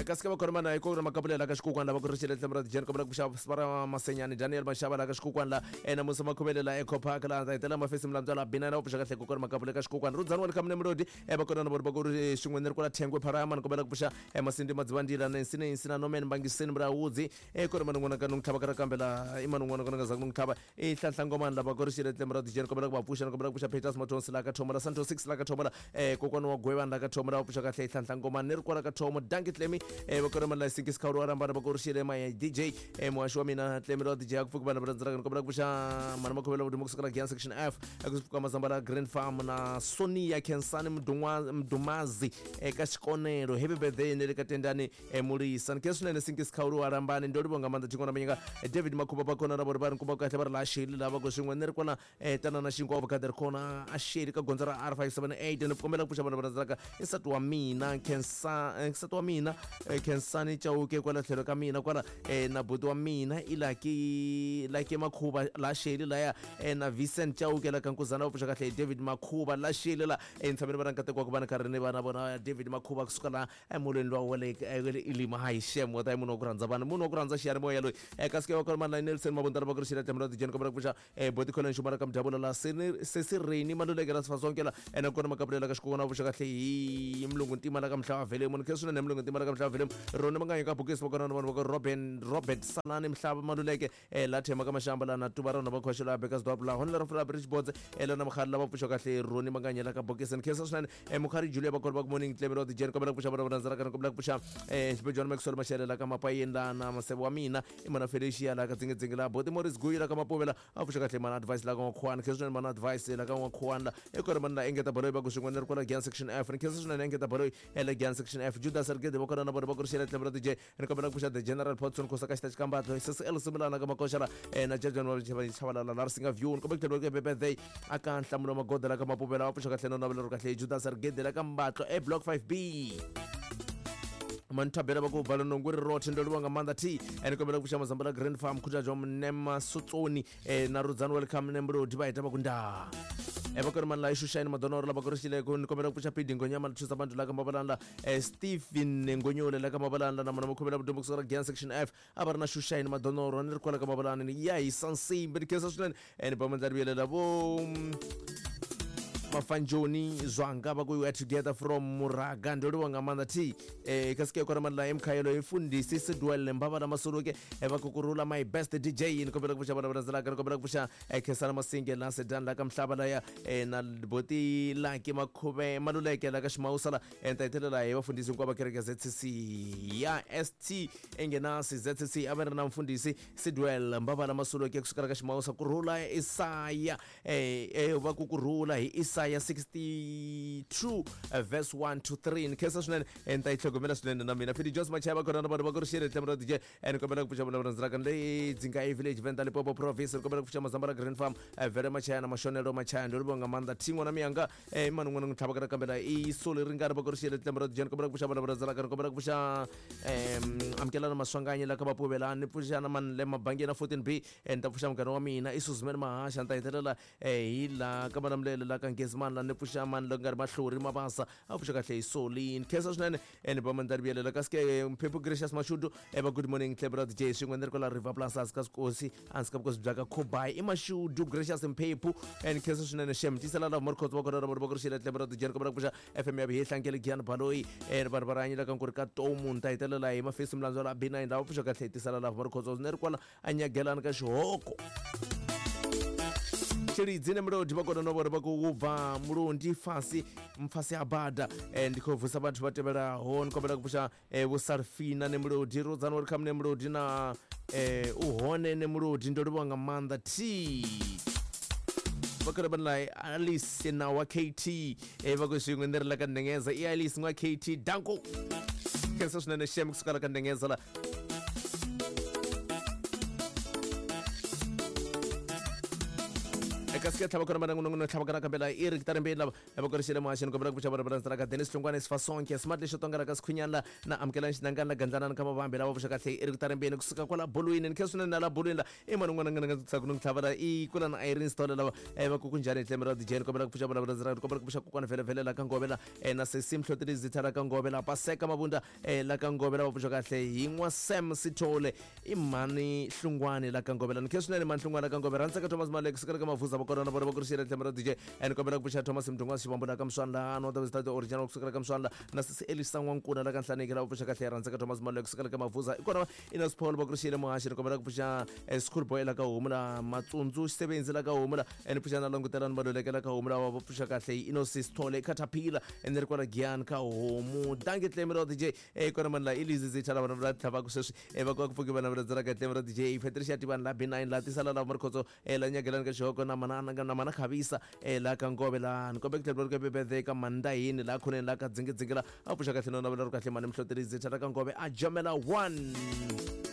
Kasi ka va khona mana hi kona makapulela ka xikukwana lava ku ri xile tlhelo ra dijeni kombela ku pfuxa sipara masenyani Daniel Mashaba la ka xikukwana la na Musa Makhuvele la Eco Park la ta hitela mafesi mlandzwa la Binana va pfuxa kahle ku kona makapule ka xikukwana Rudzani wa le ka Mlodi va kona na vona va ku ri xin'we ni ri kwala Thengwe Pharama ni kombela ku pfuxa Masindi Madzivandila Nancy Nancy na Norman Mbangiseni Mrawudzi ku ri man'wana ka nun'tlhava ka ra kambe la i man'wana ka nga za ku nun'tlhava i Nhlanhla Ngomani lava ku ri xile tlhelo ra dijeni kombela ku va pfuxa ni kombela ku pfuxa Peters Mathonsi la ka Thomo la Santo 6 la ka Thomo la kokwana wa Gwevani la ka Thomo la va pfuxa kahle Nhlanhla Ngomani ni ri kwala ka Thomo Danki Tlemi va kona mani la Sinkisi Khawulu wa Rambana va ku ri xile maya DJ muhaxi wa mina Tlemi ra DJ a ku pfuki vanhu va rhandzaka ni kombela ku pfuxa mani Makhuvela Vudumo kusuka la Giyani section F ku pfuka Mazamba la Green Farm na Sonia Khensani Mdumazi eka Xikonelo happy birthday ni le ka Tendani Mulisa ni khe swinene Sinkisi Khawulu wa Rambani ndo livho nga maanḓa tshingwana manyika David Makhuba va kona na vona va ri nkumba kahle va ri la xeli lava ku swin'we ni ri kwala tana na xinkwa va ri kona a xeli ka gondzo ra R578 ni kombela ku pfuxa vanhu va rhandzaka i nsati wa mina Khensa nsati wa mina Khensani Chauke kwala tlhelo ka mina kwala na buti wa mina i Lucky Lucky Makhuba la xeli laya na Vincent Chauke la ka Nkuzana va pfuxa kahle David Makhuba la xeli la ntshameni va ra nkateko wa ku va ni karhi ni va na vona David Makhuba kusuka la emolweni lowa wa le ilima hayi shem wa ta munhu wa ku rhandza vanhu munhu wa ku rhandza xiyanimoya loyi kasi ke va kona mani la Nelson Mabundana va ku ri xela tlhelo ra tijeni kombela ku pfuxa boti Colin Xumara ka Mdyabula la Sesi Reni Maluleke la Sifasonke la ene kona makapulela ka xikokwana va pfuxa kahle hi Mulungu Ntima la ka Mhlava Velemu ni khe swinene Mulungu Ntima la ka Mhlava Velemu Roni Manganyi ka Bokisi va kona na vanhu va ka Robin Robert Salani Mhlava Maluleke la Thema ka Mashamba la na Tuva rona va khoxo la Bekasdorp la Honela ra Fula Bridge Boards la na Mkhari la va pfuxa kahle Roni Manganyi la ka Bokisi ni khensa swinene Mukhari Julia va kona va ku morning Clemelo Dijeni kombela ku pfuxa vana va rhandzaka ni kombela ku pfuxa Xibejwana Maxwell Mashele la ka Mapayeni la na Maseve wa mina i mana Felicia la ka Dzingedzinge la Boti Morris Guyi la ka Mapuvela a pfuxa kahle mana Advice la ka N'wakhuwani khensa swinene mana Advice la ka N'wakhuwani la i kona mana la Engeta Baloyi va ku swin'we ni ri kwala Giyani section F ni khensa swinene Engeta Baloyi la Giyani section F Judas Rigede va kona na vona va ku ri xela tlhelo ra DJ ni kombela ku pfuxa the General Potson Khosa ka xita xikambatlo CCL Simulana ka Makoxa la na Jajan wa Chavalala la Risinga View ni kombela ku tlhela ku birthday aka Nhlamulo Magoda la ka Mapuvela va pfuxa kahle no navela ro kahle Judas Rigede la ka Mbatlo e block 5B manthabela va ku bvala nongo ri rothe ndo livha nga maanḓa t ni kombela ku pfuxa mazamba la Grand Farm khuthadzo Mnema Sotsoni na Rudzani welcome Nemlodi va heta va ku ndaa va kona mani la Xuxani Madonoro lava ku ri xileko ni kombela ku pfuxa Pidi Ngonyama thusa bantu la ka Mabalani la Stephen Ngonyole la ka Mabalani la na mona Makhuvela Vudombo kusuka la Giyani section F a va ri na Xuxani Madonoro ni ri kwala ka Mabalani ni ya hisa nsimbi ni khensa swinene ni ba mandla vuyelela vo Mafanjoni Zwanga va ku we are together from Muraga ndo livha nga maanḓa t kasi ke kona mani la Mkhayelo Mfundisi Sidwell Mbava la Masuluke va ku kurula my best DJ ni kombela ku pfuxa vana va landzelaka ni kombela ku pfuxa Khensani Masinge la Sedan la ka Mhlava laya na Boti Lucky Makhuve Maluleke la ka Ximawusa la ni ta hetelela hi vafundhisi hinkwavo va kereke ZCC ya ST Engenasi ZCC a va ri na mfundhisi Sidwell Mbava la Masuluke kusukela ka Ximawusa kurhula Isaya va ku kurhula hi Isaya 62 verse 1 to 3 ni khensa swinene ni ta yi tlhogomela swinene na mina Philly Jones Machaya va kona na vanhu va ku ri xile tlhelo ra DJ ni kombela ku pfuxa vana va rhandzaka le Dzinga village Venda Limpopo province ni kombela ku pfuxa Mazamba la Green Farm Vele Machaya na Mashonelo Machaya ndo livha nga maanḓa thingo na miyanga mani n'wana n'wi tlhava ka kambela i sole ringana va ku ri xile tlhelo ra DJ ni kombela ku pfuxa vana va rhandzaka ni kombela ku pfuxa amukelana Maswanganyi la ka Vapuvela ni pfuxa na mani le mabangeni na 14B ni ta pfuxa munghana wa mina i Suzman Mahasha ni ta hetelela hi la ka Malamulele la ka Ngezimani la ni pfuxa mani la ku nga ri Mahlori Mabasa a pfuxa kahle hi Solini khensa swinene ni ba mandla vuyelela kasi ke Mphephu Gracious Mashudu va good morning Clebra DJ swin'we ni ri kwala River Plus hansi ka swikosi hansi ka vukosi bya ka Khobai i Mashudu Gracious Mphephu ni khensa swinene shem tisela lava Morkhotso va kona ra vona va ku ri xile Clebra DJ ni kombela ku pfuxa FM ya Vuhehlankele Giyani Baloyi vanhu va rihanyela ka nkuri ka Tomu ni ta hetelela hi Mafesi Mlandzwa la B9 lava pfuxa kahle hi tisela lava Morkhotso ni ri kwala anyagelani ka xihoko Tshilidzi ne Mulodi vha kona no vhona vha khou bva Mulundi fhasi mfasi ha bada ndi khou vusa vhathu vha tevhelaho ni kombela ku pfusha Vho Sarfina ne Mulodi Rudzani welcome ne Mulodi na u hone ne Mulodi ndo livhuwa nga maanḓa t vha khou vha Alice na wa KT vha khou zwiṅwe ndi ri la ka ndengeza i Alice n'wa KT danko khensa swinene shem kusuka la ka ndengeza la eka Ske tlhava kona mana n'wana tlhava kana kambe la i ri kitarimbeni lava va korixile muhaxini kombela ku pfuxa vana va ka Dennis Hlongwane Sifasonke Smart lexo tonga la ka Sikhunyana la na amukelani xinangani la gandlanani ka mavambi lava pfuxa kahle i ri kitarimbeni kusuka kwala bolweni ni khe swinene na la bolweni la i mani un'wana nga nga tsaka no tlhava la i kula na Irene Sithole lava va ku kunjhani hi tlhelo ra DJ ni kombela ku pfuxa vana va kombela ku pfuxa kokwana vhele vhele la ka Ngove la na sesi Mhloteli Zitha la ka Ngove la Paseka Mabunda la ka Ngove lava pfuxa kahle hi n'wa Sam Sithole i mhani Hlungwani la ka Ngove la ni khe swinene mhani Hlungwani la ka Ngove rhandzaka Thomas Malek sukela ka Mavuza va kona na vona va kurixile tlhelo ra DJ ni kombela ku pfuxa Thomas Mdungwa Xivambu la ka Mswana la no ta original kusukela ka Mswana la na sesi Elisa N'wankuna la ka Nhlaneki lava pfuxa kahle rhandzaka Thomas Malek kusukela ka Mavuza i kona Inos Paul va kurixile muhaxi ni kombela ku pfuxa school boy la ka homu la Matsundzu Xisebenzi la ka homu la ni pfuxa na langutelani Maluleke la ka homu lava va pfuxa kahle Inos Sithole Caterpillar ni ri kwala Giyani ka homu danki tlemi ra DJ kona mani la i Lizzy Zitha lava va tlhavaka sweswi va ku va ku pfuki vana va landzelaka tlemi ra DJ Patricia Tivani la B9 la tisala lava Marikhotso la nyagelani ka xihoko na mana na mana khavisa la ka Ngove la ni kombe ku tlhela ri birthday ka Mandahini la khoneni la ka dzingidzingi la a pfuxa kahle no navela ri kahle mani Mhloteli Zitha la ka Ngove a jomela 1.